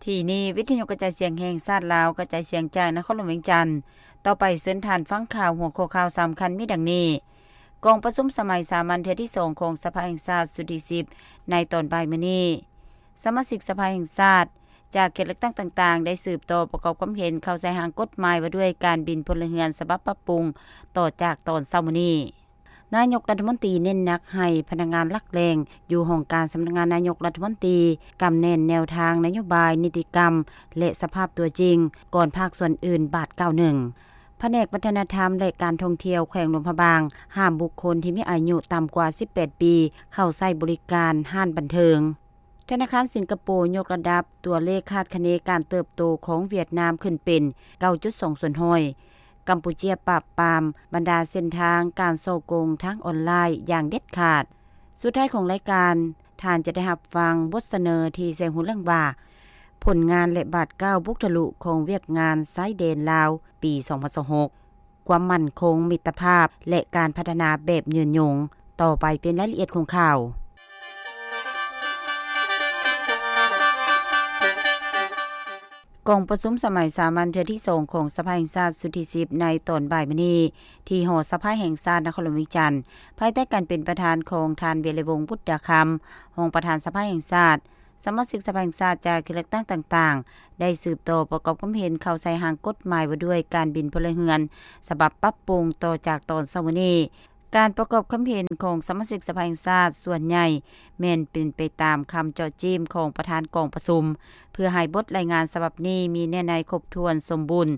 ທີ່ນີ້ ວິທະຍຸກະຈາຍສຽງແຫ່ງຊາດລາວ ກະຈາຍສຽງຈາກນະຄອນຫຼວງວຽງຈັນ. ຕໍ່ໄປເຊີນທ່ານຟັງຂ່າວ. ຫົວຂໍ້ຂ່າວສຳຄັນມີດັ່ງນີ້: ກອງປະຊຸມສະໄໝສາມັນເທື່ອທີສອງຂອງສະພາແຫ່ງຊາດຊຸດທີສິບ ໃນຕອນບ່າຍມື້ນີ້. ສະມາຊິກສະພາແຫ່ງຊາດຈາກເຂດເລືອກຕັ້ງຕ່າງໆ ໄດ້ສືບຕໍ່ປະກອບຄວາມເຫັນເຂົ້າໃສ່ຮ່າງກົດໝາຍວ່າດ້ວຍການບິນພົນລະເຮືອນສະບັບປັບປຸງຕໍ່ຈາກຕອນເຊົ້າມື້ນີ້. ນາຍົກລັດຖະມົນຕີເນັ້ນໜັກໃຫ້ພະນັກງານຫຼັກແຫຼ່ງຢູ່ຫ້ອງການສຳນັກງານນາຍົກລັດຖະມົນຕີ ກຳແໜ້ນແນວທາງນະໂຍບາຍ, ນິຕິກຳ ແລະ ສະພາບຕົວຈິງ ກ່ອນພາກສ່ວນອື່ນບາດກ້າວໜຶ່ງ. ພະແນກວັດທະນະທຳ ແລະ ການທ່ອງທ່ຽວແຂວງຫຼວງພະບາງ ຫ້າມບຸກຄົນທີ່ມີອາຍຸຕ່ຳກວ່າສິບແປດປີ ເຂົ້າໃຊ້ບໍລິການຮ້ານບັນເທີງ. ທະນາຄານສິງກະໂປຍົກລະດັບຕົວເລກຄາດຄະເນການເຕີບໂຕຂອງຫວຽດນາມຂຶ້ນເປັນ ເກົ້າຈຸດສອງສ່ວນຮ້ອຍ, ກຳປູເຈຍປາບປາມບັນດາເສັ້ນທາງການສໍ້ໂກງທາງອອນລາຍຢ່າງເດັດຂາດ. ສຸດທ້າຍຂອງລາຍການ, ທ່ານຈະໄດ້ຮັບຟັງບົດສະເໜີທີ່ໃສ່ຫົວເລື່ອງວ່າ ຜົນງານ ແລະ ບາດກ້າວບຸກທະລຸຂອງວຽກງານຊາຍແດນລາວປີສອງພັນຊາວຫົກ, ຄວາມໝັ້ນຄົງ, ມິດຕະພາບ ແລະ ການພັດທະນາແບບຍືນຍົງ. ຕໍ່ໄປເປັນລາຍລະອຽດຂອງຂ່າວ. ກອງປະຊຸມສະໄໝສາມັນເທື່ອທີສອງຂອງສະພາແຫ່ງຊາດຊຸດທີສິບ ໃນຕອນບ່າຍມື້ນີ້ ທີ່ຫໍສະພາແຫ່ງຊາດນະຄອນຫຼວງວຽງຈັນ ພາຍໃຕ້ການເປັນປະທານຂອງທ່ານ ວິໄລວົງ ບຸດດາຄຳ ຮອງປະທານສະພາແຫ່ງຊາດ, ສະມາຊິກສະພາແຫ່ງຊາດຈາກເຂດເລືອກຕັ້ງຕ່າງໆ ໄດ້ສືບຕໍ່ປະກອບຄວາມເຫັນເຂົ້າໃສ່ຮ່າງກົດໝາຍວ່າດ້ວຍການບິນພົນລະເຮືອນ ສະບັບປັບປຸງຕໍ່ຈາກຕອນເຊົ້າມື້ນີ້. ການປະກອບຄຳເຫັນຂອງສະມາຊິກສະພາແຫ່ງຊາດສ່ວນໃຫຍ່ແມ່ນເປັນໄປຕາມຄຳເຈາະຈີ້ມຂອງປະທານກອງປະຊຸມ ເພື່ອໃຫ້ບົດລາຍງານສະບັບນີ້ມີເນື້ອໃນຄົບຖ້ວນສົມບູນ,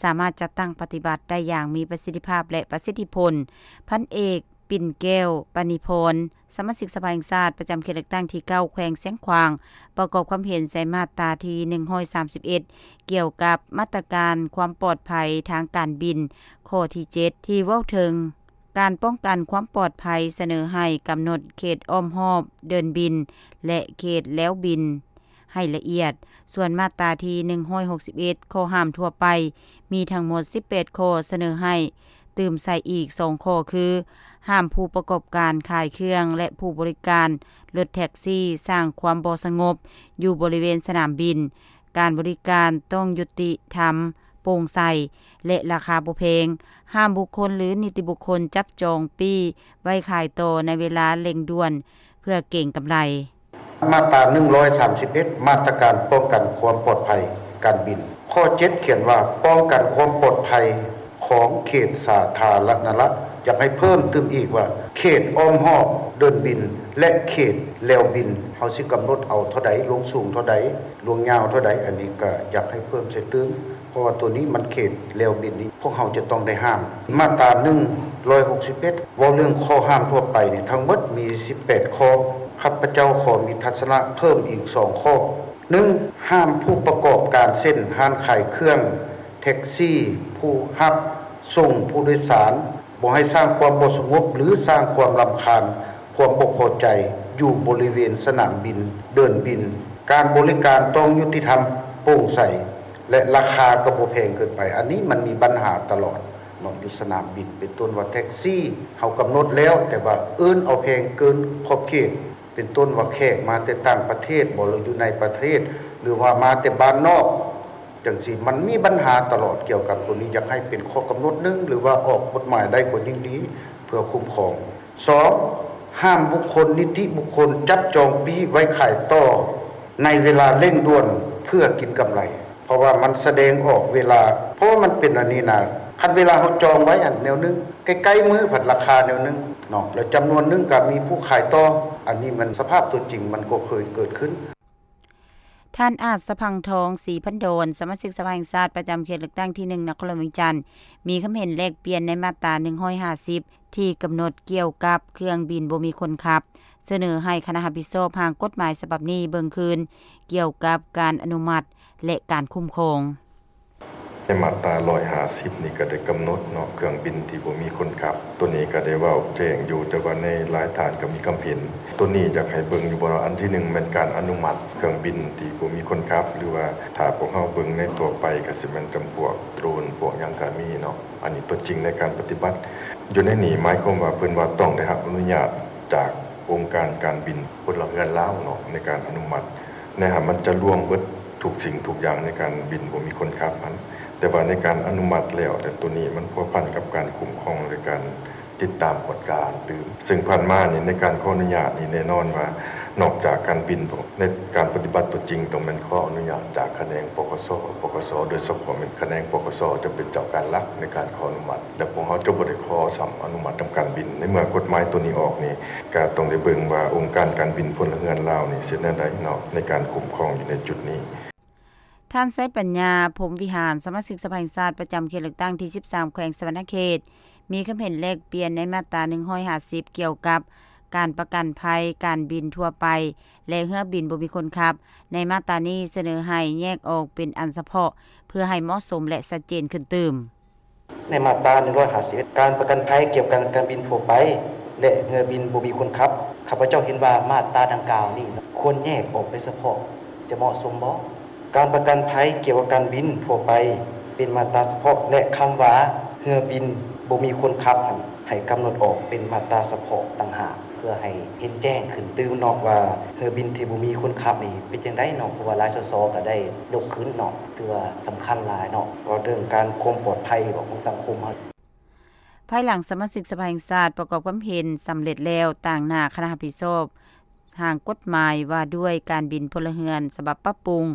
ສາມາດຈັດຕັ້ງປະຕິບັດໄດ້ຢ່າງມີປະສິດທິພາບ ແລະ ປະສິດທິຜົນ. ພັນເອກ ປິ່ນແກ້ວ ປານີພອນ ສະມາຊິກສະພາແຫ່ງຊາດປະຈຳເຂດເລືອກຕັ້ງທີເກົ້າ ແຂວງຊຽງຂວາງ ປະກອບຄວາມເຫັນໃສ່ມາດຕາທີໜຶ່ງຮ້ອຍສາມສິບເອັດ ກ່ຽວກັບມາດຕະການຄວາມປອດໄພທາງການບິນ ຂໍ້ທີເຈັດ ທີ່ເວົ້າເຖິງການປ້ອງກັນຄວາມປອດໄພ ສະເໜີໃຫ້ກຳນົດເຂດອ້ອມຮອບເດີ່ນບິນ ແລະ ເຂດແລວບິນ ໃຫ້ລະອຽດ. ສ່ວນມາດຕາທີໜຶ່ງຮ້ອຍຫົກສິບເອັດ ຂໍ້ຫ້າມທົ່ວໄປ ມີທັງໝົດສິບແປດຂໍ້ ສະເໜີໃຫ້ຕື່ມໃສ່ອີກສອງຂໍ້ຄື ຫ້າມຜູ້ປະກອບການຂາຍເຄື່ອງ ແລະ ຜູ້ບໍລິການລົດແທັກຊີສ້າງຄວາມບໍ່ສະຫງົບຢູ່ບໍລິເວນສະໜາມບິນ, ການບໍລິການຕ້ອງຍຸຕິທຳ, ໂປ່ງໃສ ແລະ ລາຄາບໍ່ແພງ, ຫ້າມບຸກຄົນ ຫຼື ນິຕິບຸກຄົນຈັບຈອງປີ້ໄວ້ຂາຍຕໍ່ໃນເວລາເລັ່ງດ່ວນເພື່ອເກັງກຳໄລ. ມາດຕາໜຶ່ງຮ້ອຍສາມສິບເອັດ ມາດຕະການປ້ອງກັນຄວາມປອດໄພການບິນ ຂໍ້ເຈັດ ຂຽນວ່າ ປ້ອງກັນຄວາມປອດໄພຂອງເຂດສາທາລະນະລັດ. ຢາກໃຫ້ເພີ່ມຕື່ມອີກວ່າ ເຂດອ້ອມຮອບເດີ່ນບິນ ແລະ ເຂດແລວບິນ ເຮົາຊິກຳນົດເອົາເທົ່າໃດ, ລວງສູງເທົ່າໃດ, ລວງຍາວເທົ່າໃດ, ອັນນີ້ກໍຢາກໃຫ້ເພີ່ມໃສ່ຕື່ມ ເພາະວ່າໂຕນີ້ມັນເຂດແລວບິນນີ້ ພວກເຮົາຈະຕ້ອງໄດ້ຫ້າມ. ມາດຕາໜຶ່ງຮ້ອຍຫົກສິບເອັດ ເວົ້າເລື່ອງຂໍ້ຫ້າມທົ່ວໄປນີ້ ທັງໝົດມີສິບແປດຂໍ້. ຂ້າພະເຈົ້າຂໍມີທັດສະນະເພີ່ມອີກສອງຂໍ້. ໜຶ່ງ ຫ້າມຜູ້ປະກອບການເຊັ່ນ ຮ້ານຂາຍເຄື່ອງ, ແທັກຊີ, ຜູ້ຮັບສົ່ງຜູ້ໂດຍສານ ບໍ່ໃຫ້ສ້າງຄວາມບໍ່ສະຫງົບ ຫຼື ສ້າງຄວາມລຳຄານ, ຄວາມບໍ່ພໍໃຈ ຢູ່ບໍລິເວນສະໜາມບິນ, ເດີ່ນບິນ. ການບໍລິການຕ້ອງຍຸຕິທຳ, ໂປ່ງໃສ ແລະ ລາຄາກໍບໍ່ແພງເກີນໄປ. ອັນນີ້ມັນມີບັນຫາຕະຫຼອດເນາະ ຢູ່ສະໜາມບິນ ເປັນຕົ້ນວ່າແທັກຊີ ເຮົາກຳນົດແລ້ວ ແຕ່ວ່າເອີ້ນເອົາແພງເກີນຂອບເຂດ ເປັນຕົ້ນວ່າແຂກມາແຕ່ຕ່າງປະເທດບໍ ຫຼື ຢູ່ໃນປະເທດ ຫຼືວ່າມາແຕ່ບ້ານນອກ ຈັ່ງຊີ້ ມັນມີບັນຫາຕະຫຼອດກ່ຽວກັບໂຕນີ້. ຢາກໃຫ້ເປັນຂໍ້ກຳນົດໜຶ່ງ ຫຼືວ່າອອກກົດໝາຍໄດ້ກໍຍິ່ງດີ ເພື່ອຄຸ້ມຄອງ. ສອງ ຫ້າມບຸກຄົນ, ນິຕິບຸກຄົນ ຈັບຈອງປີ້ໄວ້ຂາຍຕໍ່ໃນເວລາເລັ່ງດ່ວນເພື່ອກິນກຳໄລ ເພາະວ່າມັນສະແດງອອກເວລາ ເພາະວ່າມັນເປັນອັນນີ້ນະ ຄັນເວລາເຮົາຈອງໄວ້ອັນແນວໜຶ່ງ ໃກ້ໆມື້ພັດລາຄາແນວໜຶ່ງເນາະ ແລ້ວຈຳນວນໜຶ່ງກໍມີຜູ້ຂາຍຕໍ່. ອັນນີ້ມັນສະພາບຕົວຈິງມັນກໍເຄີຍເກີດຂຶ້ນ. ທ່ານ ອາດສະພັງທອງ ສີພັນດອນ ສະມາຊິກສະພາແຫ່ງຊາດປະຈຳເຂດເລືອກຕັ້ງທີໜຶ່ງ ນະຄອນຫຼວງວຽງຈັນ ມີຄວາມເຫັນແລກປ່ຽນໃນມາດຕາໜຶ່ງຮ້ອຍຫ້າສິບ ທີ່ກຳນົດກ່ຽວກັບເຄື່ອງບິນບໍ່ມີຄົນຂັບ, ສະເໜີໃຫ້ຄະນະຮັບຜິດຊອບຮ່າງກົດໝາຍສະບັບນີ້ເບິ່ງຄືນ ກ່ຽວກັບການອະນຸມັດ ແລະ ການຄຸ້ມຄອງ. ໃນມາດຕາຮ້ອຍຫ້າສິບນີ້ກໍໄດ້ກຳນົດເນາະ ເຄື່ອງບິນທີ່ບໍ່ມີຄົນຂັບ ໂຕນີ້ກໍໄດ້ເວົ້າແຈ້ງຢູ່ ແຕ່ວ່າໃນຫຼາຍທ່ານກໍມີຄວາມເຫັນ ໂຕນີ້ຢາກໃຫ້ເບິ່ງຢູ່ບໍ່ເນາະ ອັນທີໜຶ່ງແມ່ນການອະນຸມັດເຄື່ອງບິນທີ່ບໍ່ມີຄົນຂັບ ຫຼືວ່າຖ້າພວກເຮົາເບິ່ງໃນທົ່ວໄປກໍຊິແມ່ນຈຳພວກໂດຣນ ພວກຫຍັງກໍມີເນາະ ອັນນີ້ຕົວຈິງໃນການປະຕິບັດຢູ່ໃນນີ້ ໝາຍຄວາມວ່າເພິ່ນວ່າຕ້ອງໄດ້ຮັບອະນຸຍາດຈາກອົງການການບິນພົນລະເຮືອນລາວເນາະ ໃນການອະນຸມັດ ໃນຫັ້ນມັນຈະລວມເບິດ ທຸກສິ່ງທຸກຢ່າງໃນການບິນບໍ່ມີຄົນຂັບຫັ້ນ, ແຕ່ວ່າໃນການອະນຸມັດແລ້ວ ແຕ່ໂຕນີ້ມັນພົວພັນກັບການຄຸ້ມຄອງ ແລະ ການຕິດຕາມກວດກາຕື່ມ. ເຊິ່ງຜ່ານມານີ້ ໃນການຂໍອະນຸຍາດນີ້ ແນ່ນອນວ່ານອກຈາກການບິນ ໃນການປະຕິບັດຕົວຈິງ ຕ້ອງແມ່ນຂໍອະນຸຍາດຈາກຂະແໜງ ປກສ, ປກສ, ໂດຍສະເພາະແມ່ນຂະແໜງ ປກສ ຈະເປັນເຈົ້າການຫຼັກໃນການຂໍອະນຸມັດ ແລະ ພວກເຮົາຈະບໍ່ໄດ້ຂໍຊ້ຳອະນຸມັດນຳການບິນ. ໃນເມື່ອກົດໝາຍໂຕນີ້ອອກນີ້ ກະຕ້ອງໄດ້ເບິ່ງວ່າອົງການການບິນພົນລະເຮືອນລາວນີ້ເຮັດແນວໃດເນາະ ໃນການຄຸ້ມຄອງຢູ່ໃນຈຸດນີ້. ທ່ານ ໄຊປັນຍາ ພົມວິຫານ ສະມາຊິກສະພາແຫ່ງຊາດປະຈຳເຂດເລືອກຕັ້ງທີສິບສາມ ແຂວງສະຫວັນນະເຂດ ມີຄຳເຫັນແລກປ່ຽນໃນມາດຕາໜຶ່ງຮ້ອຍຫ້າສິບ ກ່ຽວກັບການປະກັນໄພການບິນທົ່ວໄປ ແລະ ເຮືອບິນບໍ່ມີຄົນຂັບ. ໃນມາດຕານີ້ສະເໜີໃຫ້ແຍກອອກເປັນອັນສະເພາະ ເພື່ອໃຫ້ເໝາະສົມ ແລະ ຊັດເຈນຂຶ້ນຕື່ມ. ໃນມາດຕາໜຶ່ງຮ້ອຍຫ້າສິບເອັດ ການປະກັນໄພກ່ຽວກັບການບິນທົ່ວໄປ ແລະ ເຮືອບິນບໍ່ມີຄົນຂັບ, ຂ້າພະເຈົ້າເຫັນວ່າມາດຕາດັ່ງກ່າວນີ້ຄວນແຍກອອກເປັນສະເພາະ ຈະເໝາະສົມບໍ່? ການປະກັນໄພກ່ຽວກັບການບິນທົ່ວໄປເປັນມາດຕາສະເພາະ ແລະ ຄຳວ່າເຮືອບິນບໍ່ມີຄົນຂັບຫັ້ນ ໃຫ້ກຳນົດອອກເປັນມາດຕາສະເພາະຕ່າງຫາກ ເພື່ອໃຫ້ເຫັນແຈ້ງຂຶ້ນຕື່ມເນາະ ວ່າເຮືອບິນທີ່ບໍ່ມີຄົນຂັບນີ້ເປັນຈັ່ງໃດເນາະ, ເພາະວ່າຫຼາຍ ສສ ກໍໄດ້ຍົກຂຶ້ນເນາະ. ຖືວ່າສຳຄັນຫຼາຍເນາະ ເວົ້າເລື່ອງການຄວາມປອດໄພຂອງສັງຄົມເຮົາ. ພາຍຫຼັງສະມາຊິກສະພາແຫ່ງຊາດປະກອບຄວາມເຫັນສຳເລັດແລ້ວ ຕາງໜ້າຄະນະຮັບຜິດຊອບຮ່າງກົດໝາຍວ່າດ້ວຍການບິນພົນລະເຮືອນສະບັບປັບປຸງ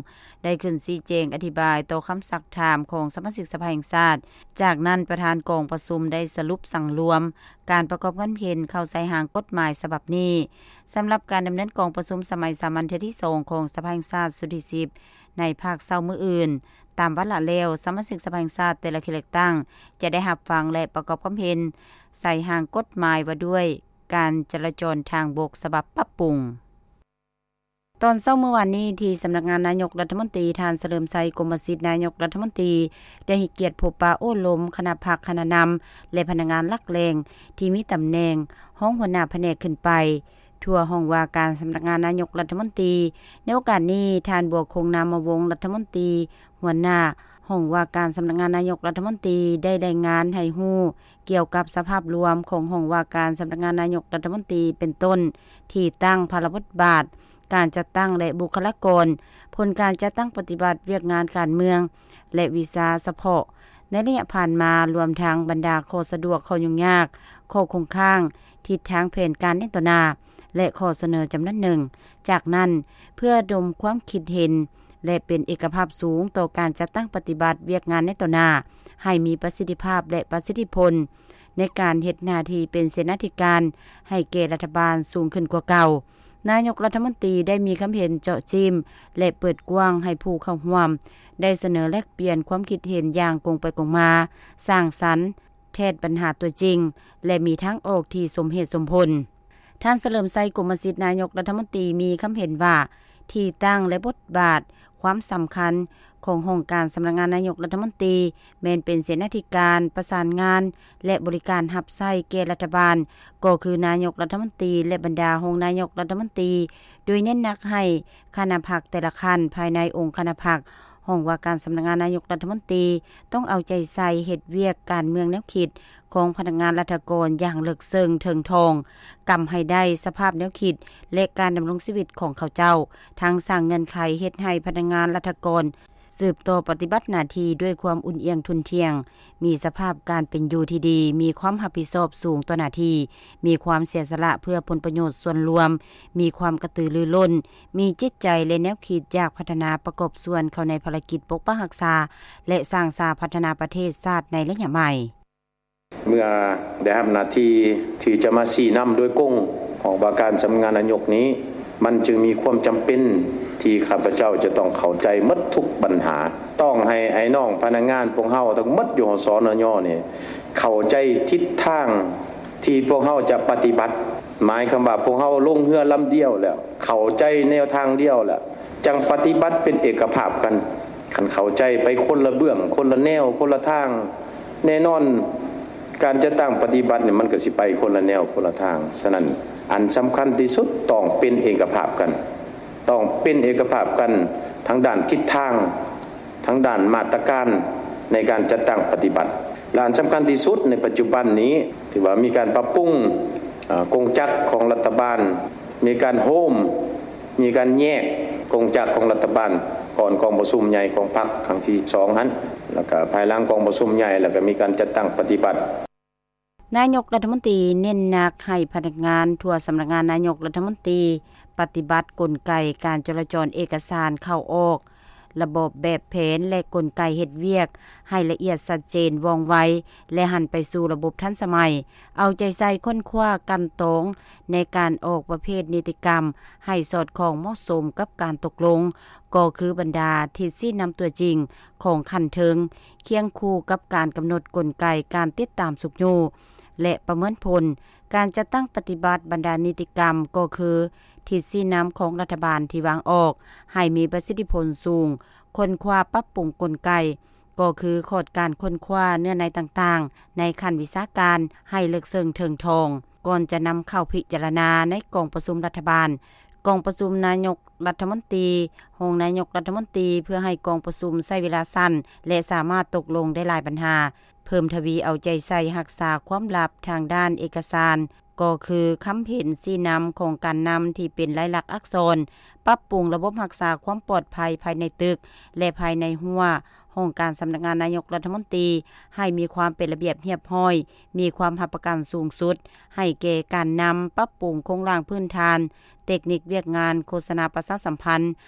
ໄດ້ຂຶ້ນຊີ້ແຈງອະທິບາຍຕໍ່ຄຳຊັກຖາມຂອງສະມາຊິກສະພາແຫ່ງຊາດ. ຈາກນັ້ນປະທານກອງປະຊຸມໄດ້ສະຫຼຸບສັງລວມການປະກອບຄວາມເຫັນເຂົ້າໃສ່ຮ່າງກົດໝາຍສະບັບນີ້. ສຳລັບການດຳເນີນກອງປະຊຸມສະໄໝສາມັນເທື່ອທີສອງຂອງສະພາແຫ່ງຊາດຊຸດທີສິບ ໃນພາກເຊົ້າມື້ອື່ນ, ຕາມວາລະແລ້ວ ສະມາຊິກສະພາແຫ່ງຊາດແຕ່ລະເຂດເລືອກຕັ້ງຈະໄດ້ຮັບຟັງ ແລະ ປະກອບຄວາມເຫັນໃສ່ຮ່າງກົດໝາຍວ່າດ້ວຍການຈະລາຈອນທາງບົກສະບັບປັບປຸງ. ຕອນເຊົ້າມື້ວານນີ້ ທີ່ສຳນັກງານນາຍົກລັດຖະມົນຕີ ທ່ານ ສະເຫຼີມໄຊ ກົມມະສິດ ນາຍົກລັດຖະມົນຕີ ໄດ້ໃຫ້ກຽດພົບປະໂອ້ລົມຄະນະພັກ, ຄະນະນຳ ແລະ ພະນັກງານຫຼັກແຫຼ່ງທີ່ມີຕຳແໜ່ງຮອງຫົວໜ້າພະແນກຂຶ້ນໄປ ທົ່ວຫ້ອງວ່າການສຳນັກງານນາຍົກລັດຖະມົນຕີ. ໃນໂອກາດນີ້ ທ່ານ ບົວຄົງ ນາມະວົງ ລັດຖະມົນຕີຫົວໜ້າຫ້ອງວ່າການສຳນັກງານນາຍົກລັດຖະມົນຕີ ໄດ້ລາຍງານໃຫ້ຮູ້ກ່ຽວກັບສະພາບລວມຂອງຫ້ອງວ່າການສຳນັກງານນາຍົກລັດຖະມົນຕີ ເປັນຕົ້ນ ທີ່ຕັ້ງ, ພາລະບົດບາດ, ການຈັດຕັ້ງ ແລະ ບຸກຄະລາກອນ, ຜົນການຈັດຕັ້ງປະຕິບັດວຽກງານການເມືອງ ແລະ ວິຊາສະເພາະໃນໄລຍະຜ່ານມາ, ລວມທັງບັນດາຂໍ້ສະດວກ, ຂໍ້ຫຍຸ້ງຍາກ, ຂໍ້ຄົງຄ້າງ, ທິດທາງແຜນການໃນຕໍ່ໜ້າ ແລະ ຂໍ້ສະເໜີຈຳນວນໜຶ່ງ. ຈາກນັ້ນ, ເພື່ອລະດົມຄວາມຄິດເຫັນ ແລະ ເປັນເອກະພາບສູງຕໍ່ການຈັດຕັ້ງປະຕິບັດວຽກງານໃນຕໍ່ໜ້າ ໃຫ້ມີປະສິດທິພາບ ແລະ ປະສິດທິຜົນ ໃນການເຮັດໜ້າທີ່ເປັນເສນາທິການໃຫ້ແກ່ລັດຖະບານສູງຂຶ້ນກວ່າເກົ່າ, ນາຍົກລັດຖະມົນຕີໄດ້ມີຄຳເຫັນເຈາະຈິ້ມ ແລະ ເປີດກວ້າງໃຫ້ຜູ້ເຂົ້າຮ່ວມໄດ້ສະເໜີແລກປ່ຽນຄວາມຄິດເຫັນຢ່າງກົງໄປກົງມາ, ສ້າງສັນ, ແທດບັນຫາຕົວຈິງ ແລະ ມີທາງອອກທີ່ສົມເຫດສົມຜົນ. ທ່ານ ສະເຫຼີມໄຊ ກົມມະສິດ ນາຍົກລັດຖະມົນຕີ ມີຄຳເຫັນວ່າ ທີ່ຕັ້ງ ແລະ ບົດບາດ, ຄວາມສຳຄັນຂອງຫ້ອງການສຳນັກງານນາຍົກລັດຖະມົນຕີ ແມ່ນເປັນເສນາທິການປະສານງານ ແລະ ບໍລິການຮັບໃຊ້ແກ່ລັດຖະບານ, ກໍຄືນາຍົກລັດຖະມົນຕີ ແລະ ບັນດາຮອງນາຍົກລັດຖະມົນຕີ, ໂດຍເນັ້ນໜັກໃຫ້ຄະນະພັກແຕ່ລະຂັ້ນພາຍໃນອົງຄະນະພັກ, ຫ້ອງວ່າການສຳນັກງານນາຍົກລັດຖະມົນຕີ ຕ້ອງເອົາໃຈໃສ່ເຮັດວຽກການເມືອງແນວຄິດ ຂອງພະນັກງານລັດຖະກອນຢ່າງເລິກເຊິ່ງເຖິງທ່ອງ, ກຳໃຫ້ໄດ້ສະພາບແນວຄິດ ແລະ ການດຳລົງຊີວິດຂອງເຂົາເຈົ້າ, ທັງສ້າງເງື່ອນໄຂເຮັດໃຫ້ພະນັກງານລັດຖະກອນສືບຕໍ່ປະຕິບັດໜ້າທີ່ດ້ວຍຄວາມອຸ່ນອຽງທຸ່ນທ່ຽງ, ມີສະພາບການເປັນຢູ່ທີ່ດີ, ມີຄວາມຮັບຜິດຊອບສູງຕໍ່ໜ້າທີ່, ມີຄວາມເສຍສະຫຼະເພື່ອຜົນປະໂຫຍດສ່ວນລວມ, ມີຄວາມກະຕືລືລົ້ນ, ມີຈິດໃຈ ແລະ ແນວຄິດຢາກພັດທະນາປະກອບສ່ວນເຂົ້າໃນພາລະກິດປົກປັກຮັກສາ ແລະ ສ້າງສາພັດທະນາປະເທດຊາດໃນໄລຍະໃໝ່. ເມື່ອໄດ້ຮັບໜ້າທີ່ທີ່ຈະມາຊີ້ນຳໂດຍກົງຂອງວ່າການສຳນັກງານນາຍົກນີ້, ມັນຈຶ່ງມີຄວາມຈຳເປັນທີ່ຂ້າພະເຈົ້າຈະຕ້ອງເຂົ້າໃຈໝົດທຸກບັນຫາ. ຕ້ອງໃຫ້ອ້າຍນ້ອງພະນັກງານພວກເຮົາທັງໝົດຢູ່ ຫສນຍ ນີ້ ເຂົ້າໃຈທິດທາງທີ່ພວກເຮົາຈະປະຕິບັດ. ໝາຍຄວາມວ່າພວກເຮົາລົງເຮືອລຳດຽວແລ້ວ, ເຂົ້າໃຈແນວທາງດຽວແລ້ວ, ຈັ່ງປະຕິບັດເປັນເອກະພາບກັນ. ຄັນເຂົ້າໃຈໄປຄົນລະເບື້ອງ, ຄົນລະແນວ, ຄົນລະທາງ, ແນ່ນອນ ການຈັດຕັ້ງປະຕິບັດນີ້ ມັນກໍຊິໄປຄົນລະແນວຄົນລະທາງ. ສະນັ້ນ ອັນສຳຄັນທີ່ສຸດຕ້ອງເປັນເອກະພາບກັນ, ຕ້ອງເປັນເອກະພາບກັນທາງດ້ານທິດທາງ, ທາງດ້ານມາດຕະການໃນການຈັດຕັ້ງປະຕິບັດ. ແລະ ອັນສຳຄັນທີ່ສຸດໃນປັດຈຸບັນນີ້ ທີ່ວ່າມີການປັບປຸງ ອາ ກົງຈັກຂອງລັດຖະບານ, ມີການໂຮມ, ມີການແຍກກົງຈັກຂອງລັດຖະບານ, ກ່ອນກອງປະຊຸມໃຫຍ່ຂອງພັກຄັ້ງທີສິບສອງຫັ້ນ ແລ້ວກະພາຍຫຼັງກອງປະຊຸມໃຫຍ່ ແລ້ວກະມີການຈັດຕັ້ງປະຕິບັດ. ນາຍົກລັດຖະມົນຕີເນັ້ນໜັກໃຫ້ພະນັກງານທົ່ວສຳນັກງານນາຍົກລັດຖະມົນຕີປະຕິບັດກົນໄກການຈໍລະຈອນເອກະສານເຂົ້າອອກ, ລະບອບແບບແຜນ ແລະ ກົນໄກເຮັດວຽກໃຫ້ລະອຽດຊັດເຈນ, ວ່ອງໄວ ແລະ ຫັນໄປສູ່ລະບົບທັນສະໄໝ, ເອົາໃຈໃສ່ຄົ້ນຄວ້າກັ່ນຕອງໃນການອອກປະເພດນິຕິກຳໃຫ້ສອດຄ່ອງເໝາະສົມກັບການຕົກລົງ ກໍຄືບັນດາທິດຊີ້ນຳຕົວຈິງຂອງຂັ້ນເທິງ, ຄຽງຄູ່ກັບການກຳນົດກົນໄກການຕິດຕາມຊຸກຍູ້ ແລະ ປະເມີນຜົນ. ການຈັດຕັ້ງປະຕິບັດບັນດານິຕິກຳ ກໍຄືທິດຊີ້ນຳຂອງລັດຖະບານທີ່ວາງອອກໃຫ້ມີປະສິດທິຜົນສູງ, ຄົ້ນຄວ້າປັບປຸງກົນໄກ ກໍຄືຂອດການຄົ້ນຄວ້າເນື້ອໃນຕ່າງໆ ໃນຂັ້ນວິຊາການໃຫ້ເລິກເຊິ່ງເຖິງທ່ອງ ກ່ອນຈະນຳເຂົ້າພິຈາລະນາໃນກອງປະຊຸມລັດຖະບານ, ກອງປະຊຸມນາຍົກລັດຖະມົນຕີ, ຮອງນາຍົກລັດຖະມົນຕີ ເພື່ອໃຫ້ກອງປະຊຸມໃຊ້ເວລາສັ້ນ ແລະ ສາມາດຕົກລົງໄດ້ຫຼາຍບັນຫາ, ເພີ່ມທະວີເອົາໃຈໃສ່ຮັກສາຄວາມລັບທາງດ້ານເອກະສານ ກໍຄືຄຳເຫັນຊີ້ນຳຂອງການນຳທີ່ເປັນລາຍລັກອັກສອນ, ປັບປຸງລະບົບຮັກສາຄວາມປອດໄພພາຍໃນຕຶກ ແລະ ພາຍໃນຮົ້ວຫ້ອງການສຳນັກງານນາຍົກລັດຖະມົນຕີ ໃຫ້ມີຄວາມເປັນລະບຽບຮຽບຮ້ອຍ, ມີຄວາມຮັບປະກັນສູງສຸດໃຫ້ແກ່ການນຳ, ປັບປຸງໂຄງລ່າງພື້ນຖານ, ເຕັກນິກວຽກງານໂຄສະນາປະຊາສຳພັນ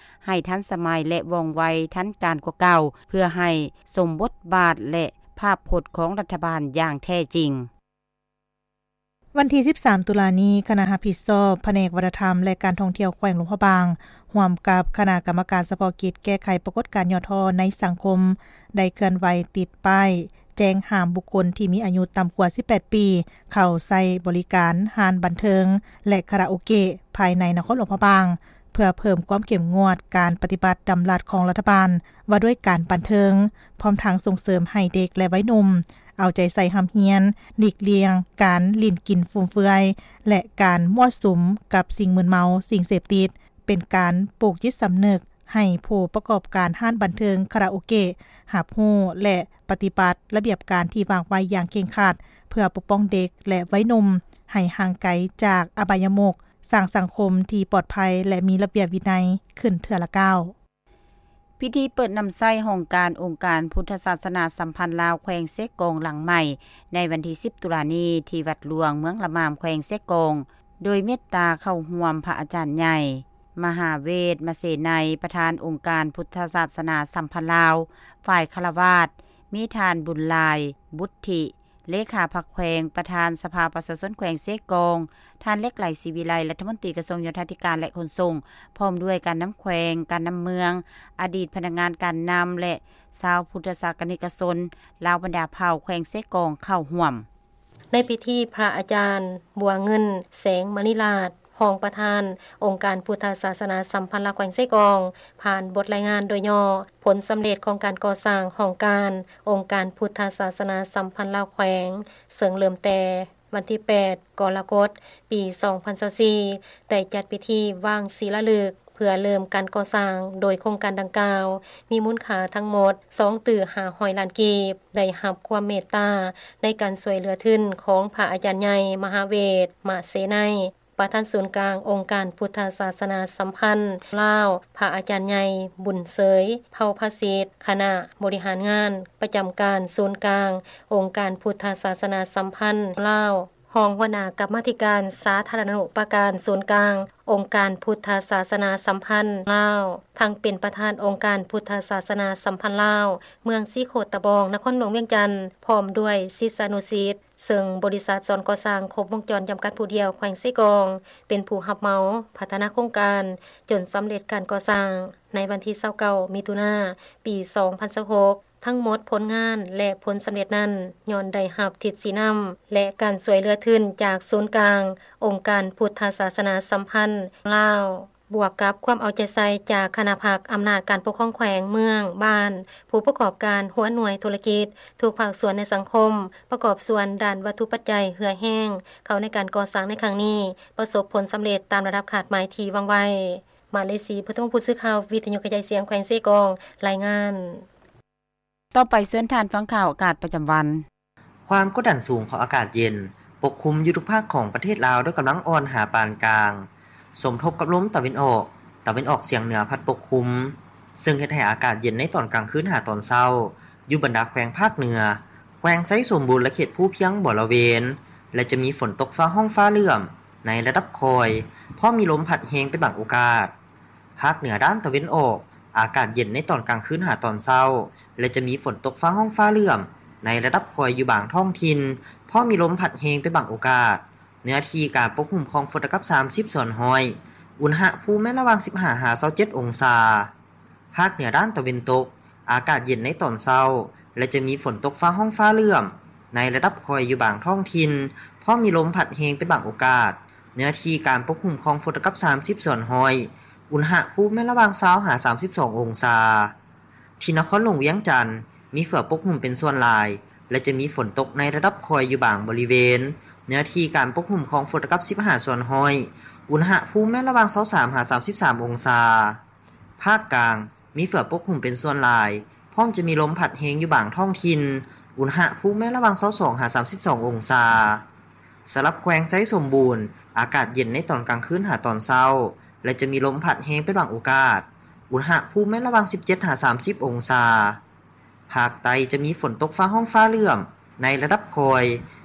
ໃຫ້ທັນສະໄໝ ແລະ ວ່ອງໄວທັນການກວ່າເກົ່າ ເພື່ອໃຫ້ສົມບົດບາດ ແລະ ພາບພົດຂອງລັດຖະບານຢ່າງແທ້ຈິງ. ວັນທີສິບສາມ ຕຸລານີ້, ຄະນະຮັບຜິດຊອບພະແນກວັດທະນະທຳ ແລະ ການທ່ອງທ່ຽວແຂວງຫຼວງພະບາງ ຮ່ວມກັບຄະນະກຳມະການສະເພາະກິດແກ້ໄຂປາກົດການຫຍໍ້ທໍ້ໃນສັງຄົມ ໄດ້ເຄື່ອນໄຫວຕິດປ້າຍແຈ້ງຫ້າມບຸກຄົນທີ່ມີອາຍຸຕ່ຳກວ່າສິບແປດປີ ເຂົ້າໃຊ້ບໍລິການຮ້ານບັນເທີງ ແລະ ຄາຣາໂອເກະພາຍໃນນະຄອນຫຼວງພະບາງ ເພື່ອເພີ່ມຄວາມເຂັ້ມງວດການປະຕິບັດດຳລັດຂອງລັດຖະບານວ່າດ້ວຍການບັນເທີງ, ພ້ອມທັງສົ່ງເສີມໃຫ້ເດັກ ແລະ ໄວໜຸ່ມ ເອົາໃຈໃສ່ຮ່ຳຮຽນ, ຫຼີກລ່ຽງການຫຼິ້ນກິນຟຸມເຟືອຍ ແລະ ການມົ້ວສຸມກັບສິ່ງມຶນເມົາ, ສິ່ງເສບຕິດ, ເປັນການປູກຈິດສຳນຶກໃຫ້ຜູ້ປະກອບການຮ້ານບັນເທີງ, ຄາຣາໂອເກະ ຮັບຮູ້ ແລະ ປະຕິບັດລະບຽບການທີ່ວາງໄວ້ຢ່າງເຄັ່ງຄັດ ເພື່ອປົກປ້ອງເດັກ ແລະ ໄວໜຸ່ມໃຫ້ຫ່າງໄກຈາກອະບາຍະມຸກ, ສ້າງສັງຄົມທີ່ປອດໄພ ແລະ ມີລະບຽບວິໄນຂຶ້ນເທື່ອລະກ້າວ. ພິທີເປີດນຳໃຊ້ຫ້ອງການອົງການພຸດທະສາສະໜາສຳພັນລາວແຂວງເຊກອງຫຼັງໃໝ່ ໃນວັນທີສິບ ຕຸລານີ້ ທີ່ວັດຫຼວງເມືອງລະໝາມ ແຂວງເຊກອງ ໂດຍເມດຕາເຂົ້າຮ່ວມພະອາຈານໃຫຍ່ ມະຫາເວດ ມະເສໄນ ປະທານອົງການພຸດທະສາສະໜາສຳພັນລາວ ຝ່າຍຄາລະວາດ, ມີທ່ານ ບຸນຫຼາຍ ບຸດທິ ເລຂາພັກແຂວງ, ປະທານສະພາປະຊາຊົນແຂວງເຊກອງ, ທ່ານ ເລັກໄຫຼ ສີວິໄລ ລັດຖະມົນຕີກະຊວງໂຍທາທິການ ແລະ ຂົນສົ່ງ, ພ້ອມດ້ວຍການນຳແຂວງ, ການນຳເມືອງ, ອະດີດພະນັກງານການນຳ ແລະ ຊາວພຸດທະສາກະນິກະຊົນລາວບັນດາເຜົ່າແຂວງເຊກອງເຂົ້າຮ່ວມ. ໃນພິທີ, ພະອາຈານ ບົວເງິນ ແສງມະນີລາດ ຮອງປະທານອົງການພຸດທະສາສະໜາສຳພັນລາວແຂວງເຊກອງ ຜ່ານບົດລາຍງານໂດຍຫຍໍ້ຜົນສຳເລັດຂອງການກໍ່ສ້າງຫ້ອງການອົງການພຸດທະສາສະໜາສຳພັນລາວແຂວງ, ເຊິ່ງເລີ່ມແຕ່ວັນທີແປດ ກໍລະກົດ ປີສອງພັນຊາວສີ່ ໄດ້ຈັດພິທີວາງສີລາລຶກ ເພື່ອເລີ່ມການກໍ່ສ້າງ, ໂດຍໂຄງການດັ່ງກ່າວມີມູນຄ່າທັງໝົດສອງຕື້ຫ້າຮ້ອຍລ້ານກີບ, ໄດ້ຮັບຄວາມເມດຕາໃນການຊ່ວຍເຫຼືອທຶນຂອງພະອາຈານໃຫຍ່ ມະຫາເວດ ມະເສໄນ ປະທານສູນກາງອົງການພຸດທະສາສະໜາສຳພັນລາວ, ພະອາຈານໃຫຍ່ ບຸນເສີຍ ເຜົ່າພາສິດ ຄະນະບໍລິຫານງານປະຈຳການສູນກາງອົງການພຸດທະສາສະໜາສຳພັນລາວ, ຮອງຫົວໜ້າກຳມາທິການສາທາລະນຸປະການສູນກາງອົງການພຸດທະສາສະໜາສຳພັນລາວ, ທັງເປັນປະທານອົງການພຸດທະສາສະໜາສຳພັນລາວ ເມືອງສີໂຄດຕະບອງ ນະຄອນຫຼວງວຽງຈັນ ພ້ອມດ້ວຍສິດສານຸສິດ, ເຊິ່ງບໍລິສັດສອນກໍ່ສ້າງຄົບວົງຈອນຈຳກັດຜູ້ດຽວແຂວງເຊກອງ ເປັນຜູ້ຮັບເໝົາພັດທະນາໂຄງການ ຈົນສຳເລັດການກໍ່ສ້າງໃນວັນທີຊາວເກົ້າ ມິຖຸນາ ປີສອງພັນຊາວຫົກ. ທັງໝົດຜົນງານ ແລະ ຜົນສຳເລັດນັ້ນ ຍ້ອນໄດ້ຮັບທິດຊີ້ນຳ ແລະ ການຊ່ວຍເຫຼືອທຶນຈາກສູນກາງອົງການພຸດທະສາສະໜາສຳພັນລາວ, ບວກກັບຄວາມເອົາໃຈໃສ່ຈາກຄະນະພັກອຳນາດການປົກຄອງແຂວງ, ເມືອງ, ບ້ານ, ຜູ້ປະກອບການ, ຫົວໜ່ວຍທຸລະກິດ, ທຸກພາກສ່ວນໃນສັງຄົມ ປະກອບສ່ວນດ້ານວັດຖຸປັດໄຈເຫື່ອແຮງເຂົ້າໃນການກໍ່ສ້າງໃນຄັ້ງນີ້ ປະສົບຜົນສຳເລັດຕາມລະດັບຄາດໝາຍທີ່ວາງໄວ້. ມາເລສີ ພຸດທະວົງ ຜູ້ສື່ຂ່າວວິທະຍຸກະຈາຍສຽງແຂວງເຊກອງ ລາຍງານ. ຕໍ່ໄປເຊີນທ່ານຟັງຂ່າວອາກາດປະຈຳວັນ. ຄວາມກົດດັນສູງຂອງອາກາດເຢັນປົກຄຸມຢູ່ທຸກພາກຂອງປະເທດລາວດ້ວຍກຳລັງອ່ອນຫາປານກາງ, ສົມທົບກັບລົມຕາເວັນອອກ, ຕາເວັນອອກສຽງເໜືອພັດປົກຄຸມ, ເຊິ່ງເຮັດໃຫ້ອາກາດເຢັນໃນຕອນກາງຄືນຫາຕອນເຊົ້າ ຢູ່ບັນດາແຂວງພາກເໜືອ, ແຂວງໄຊສົມບູນ ແລະ ເຂດພູພຽງບໍລະເວນ ແລະ ຈະມີຝົນຕົກຟ້າຮ້ອງຟ້າເຫຼື້ອມໃນລະດັບຄ່ອຍ, ພ້ອມມີລົມພັດແຮງເປັນບາງໂອກາດ. ພາກເໜືອດ້ານຕາເວັນອອກ, ອາກາດເຢັນໃນຕອນກາງຄືນຫາຕອນເຊົ້າ ແລະ ຈະມີຝົນຕົກຟ້າຮ້ອງຟ້າເຫຼື້ອມໃນລະດັບຄ່ອຍຢູ່ບາງທ້ອງຖິ່ນ, ພ້ອມມີລົມພັດແຮງເປັນບາງໂອກາດ. ເນື້ອທີ່ການປົກຫຸ້ມຂອງຝົນເທົ່າກັບສາມສິບສ່ວນຮ້ອຍ, ອຸນຫະພູມແມ່ນລະຫວ່າງສິບຫ້າຫາຊາວເຈັດອົງສາ. ພາກເໜືອດ້ານຕາເວັນຕົກ, ອາກາດເຢັນໃນຕອນເຊົ້າ ແລະ ຈະມີຝົນຕົກຟ້າຮ້ອງຟ້າເຫຼື້ອມໃນລະດັບຄ່ອຍຢູ່ບາງທ້ອງຖິ່ນ, ພ້ອມມີລົມພັດແຮງເປັນບາງໂອກາດ. ເນື້ອທີ່ການປົກຫຸ້ມຂອງຝົນເທົ່າກັບສາມສິບສ່ວນຮ້ອຍ, ອຸນຫະພູມແມ່ນລະຫວ່າງຊາວຫາສາມສິບສອງອົງສາ. ທີ່ນະຄອນຫຼວງວຽງຈັນ ມີເຝືອປົກຫຸ້ມເປັນສ່ວນຫຼາຍ ແລະ ຈະມີຝົນຕົກໃນລະດັບຄ່ອຍຢູ່ບາງບໍລິເວນ. ເນື້ອທີ່ການປົກຫຸ້ມຂອງຝົນເທົ່າກັບສິບຫ້າສ່ວນຮ້ອຍ, ອຸນຫະພູມແມ່ນລະຫວ່າງຊາວສາມຫາສາມສິບສາມອົງສາ. ພາກກາງ ມີເຝືອປົກຫຸ້ມເປັນສ່ວນຫຼາຍ, ພ້ອມຈະມີລົມພັດແຮງຢູ່ບາງທ້ອງຖິ່ນ, ອຸນຫະພູມແມ່ນລະຫວ່າງຊາວສອງຫາສາມສິບສອງອົງສາ. ສຳລັບແຂວງໄຊສົມບູນ, ອາກາດເຢັນໃນຕອນກາງຄືນຫາຕອນເຊົ້າ ແລະ ຈະມີລົມພັດແຮງເປັນບາງໂອກາດ, ອຸນຫະພູມແມ່ນລະຫວ່າງສິບເຈັດຫາສາມສິບອົງສາ. ພາກໃຕ້ຈະມີຝົນຕົກຟ້າຮ້ອງຟ້າເຫຼື້ອມໃນລະດັບຄ່ອຍ,